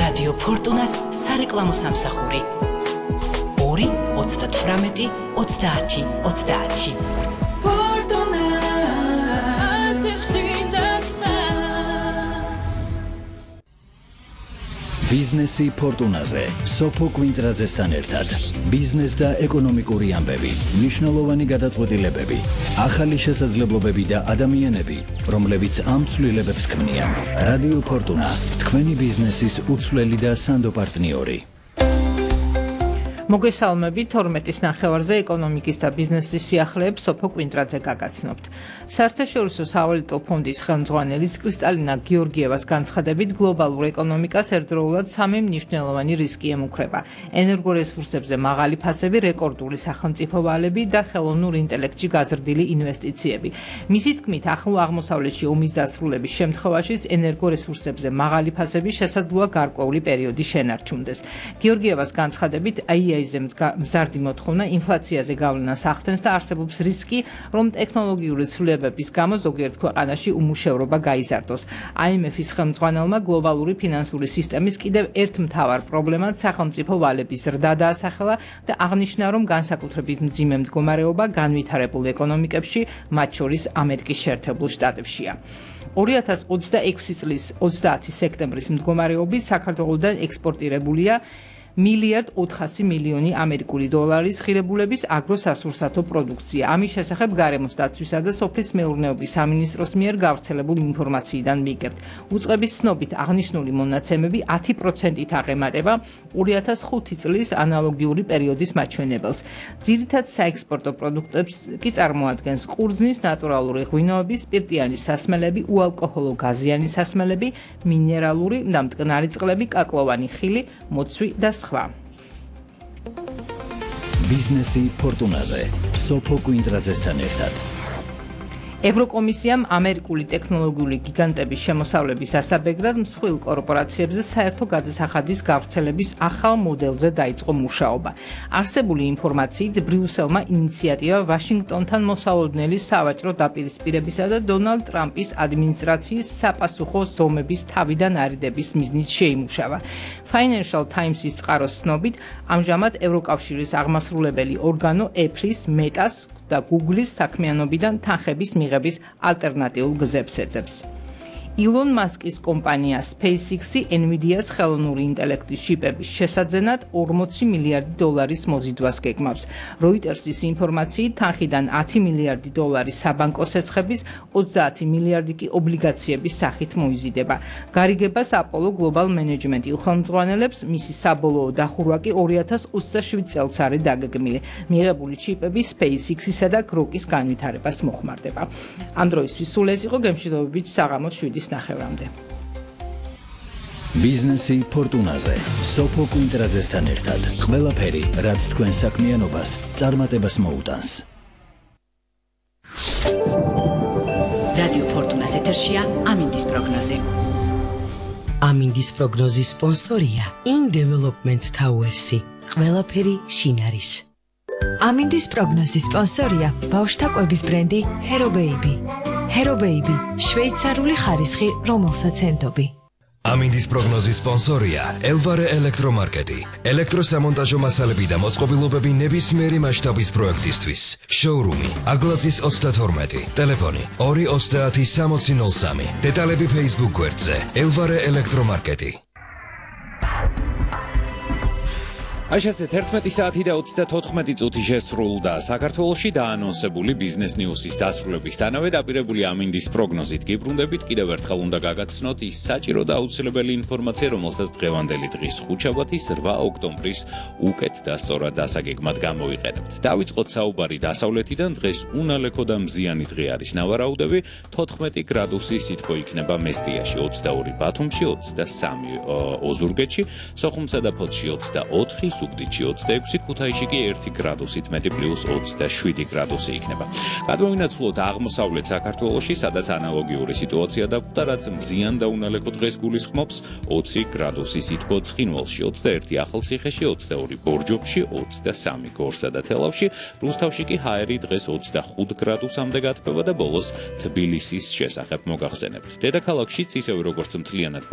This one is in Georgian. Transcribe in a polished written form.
რადიო ფორტუნას სარეკლამო სამსახური 2 38 30 30. ბიზნესი ფორტუნაზე სოფო კვინტრაძესთან ერთად ბიზნეს და ეკონომიკური ამბები, მნიშვნელოვანი გადაწყვეტილებები, ახალი შესაძლებლობები და ადამიანები, რომლებიც ამ ცვლილებებს ქმნიან. რადიო ფორტუნა, თქვენი ბიზნესის უცვლელი და სანდო პარტნიორი. მოგესალმებით 12-ის ნახევარზე ეკონომიკის და ბიზნესის სიახლეებს სოფო კვინტრაძე გაგაცნობთ. საერთაშორისო სავალუტო ფონდის ხელმძღვანელის კრისტალინა გიორგიევას განცხადებით გლობალურ ეკონომიკას ერთდროულად 3 მნიშვნელოვანი რისკი ემუქრება: ენერგორესურსებზე მაღალი ფასები, რეკორდული სახელმწიფო ვალები და ხელოვნურ ინტელექტში გაზრდილი ინვესტიციები. მისი თქმით, ახლო აღმოსავლეთში ომის დასრულების შემთხვევაშიც ენერგორესურსებზე მაღალი ფასები შესაძლოა გარკვეული პერიოდი შენარჩუნდეს. გიორგიევას განცხადებით, IAEA-ზე მზარდი მოთხოვნა ინფლაციაზე გავლენას ახდენს და არსებობს რისკი, რომ ტექნოლოგიური ცვლილებების გამო ზოგიერთ ქვეყანაში უმუშევრობა გაიზარდოს. IMF-ის ხელმძღვანელმა გლობალური ფინანსური სისტემის კიდევ ერთ მთავარ პრობლემად სახელმწიფო ვალების ზრდა დაასახელა და აღნიშნა, რომ განსაკუთრებით მძიმე მდგომარეობა განვითარებულ ეკონომიკებში, მათ შორის ამერიკის შეერთებულ შტატებშია. 2026 წლის 30 სექტემბრის მდგომარეობით საქართველოსთან ექსპორტირებულია $1.4 მილიარდი ამერიკული დოლარის ღირებულების აგროსასურსათო პროდუქცია. ამის შესახებ გარემოს დაცვისა და სოფლის მეურნეობის სამინისტროს მიერ გავრცელებულ ინფორმაციიდან ვიგებთ. უწყების ცნობით აღნიშნული მონაცემები 10%-ით აღემატება 2005 წლის ანალოგიური პერიოდის მაჩვენებელს. ძირითად საექსპორტო პროდუქტებს კი წარმოადგენს ყურძნის, ნატურალური ღვინოების, სპირტიანი სასმელები, უალკოჰოლო გაზიანი სასმელები, მინერალური და მტკნარი წყლები, კაკლოვანი ხილი, მოცვი და ბიზნესი ფორტუნაზე სოფო კვინტრაძესთან ერთად. ევროკომისიამ ამერიკული ტექნოლოგიური გიგანტების შემოსავლების ასაბეგრად მსხვილ კორპორაციებზე საერთო გადასახადის გავრცელების ახალ მოდელზე დაიწყო მუშაობა. არსებული ინფორმაციით, ბრიუსელმა ინიციატივა ვაშინგტონთან მოსალოდნელი სავაჭრო დაპირისპირებისა და დონალდ ტრამპის ადმინისტრაციის საპასუხო ზომების თავიდან არიდების მიზნით შეიმუშავა. Financial Times-ის წყაროს ცნობით, ამჟამად ევროკავშირის აღმასრულებელი ორგანო Apple-ის, Meta-ს და Google-ის საქმიანობიდან თანხების მიღების ალტერნატიულ გზებს ეძებს. ილონ მასკის კომპანია SpaceX-ი NVIDIA-ს ხელოვნური ინტელექტის შიპების შესაძენად $40 მილიარდი მოზიდვას გეგმავს. Reuters-ის ინფორმაციით, თანხიდან $10 მილიარდი საბანკო სესხების, 30 მილიარდი კი ობლიგაციების სახით მოიზიდება. გარიგებას Apollo Global Management ხელმძღვანელებს, მისი საბოლოო დახურვა კი 2027 წელს არის დაგეგმილი. მიღებული ჩიპები SpaceX-ისა და Grok-ის განვითარებას მოხმარდება. ამ დროისთვის სულ ეს იყო, გემშვიდობებით საღამოს 7-ის ნახევრამდე. ბიზნესი ფორტუნაზე სოფო კვინტრაძესთან ერთად. ყველაფერი, რაც თქვენ საქმიანობას წარმატებას მოუტანს. რადიო ფორტუნას ეთერშია ამინდის პროგნოზი. ამინდის პროგნოზის სპონსორია In Development Towers-ი. ყველაფერი შინ არის. ამინდის პროგნოზის სპონსორია ბავშვთა კვების ბრენდი Hero Baby. Hero Baby, შვეიცარიული ხარისხი, რომელსაც ენდობი. ამინდის პროგნოზის სპონსორია Elvare ელექტრომარკეტი. ელექტროსამონტაჟო მასალები და მოწყობილობები ნებისმიერი მასშტაბის პროექტისთვის. შოურუმი აგლაძის 32, ტელეფონი 230 6003. დეტალები Facebook გვერდზე Elvare ელექტრომარკეტი. Așa 11 საათი და 34 წუთი შესრულდა. საქართველოში დაანონსებული ბიზნეს ნიუსის დასრულებისთანავე დაპირებული ამინდის პროგნოზით გიბრუნდებით. კიდევ ერთხელ უნდა გაგაცნოთ ის საჭირო და აუცილებელი ინფორმაცია, რომელსაც დღევანდელი დღის ხუთშაბათის 8 ოქტომბრის უკეთ და სწორად დასაგეგმად გამოვიყენებთ. დავიწყოთ საუბარი დასავლეთიდან. დღეს უნალექო და მზიანი დღე არის. ნავარაუდები 14 გრადუსი სითბო იქნება მესტიაში, 22 ბათუმში, 23 ოზურგეთში, სოხუმსა და ფოთში 24, სუგდიდში 26, ქუთაისში კი 1 გრადუსით მეტი +27 გრადუსი იქნება. გადმოვინაცვლოთ აღმოსავლეთ საქართველოში, სადაც ანალოგიური სიტუაცია დაგვდა, რაც მზიან და უნალექო დღეს გულისხმობს 20 გრადუსი სითბო ცხინვალში, 21 ახალციხეში, 22 ბორჯომში, 23 გორსა და თელავში, რუსთავში კი ჰაერი დღეს 25 გრადუსამდე გათბება და ბოლოს თბილისის შესახებ მოგახსენებთ. დედაქალაქშიც ისევე როგორც მთლიანად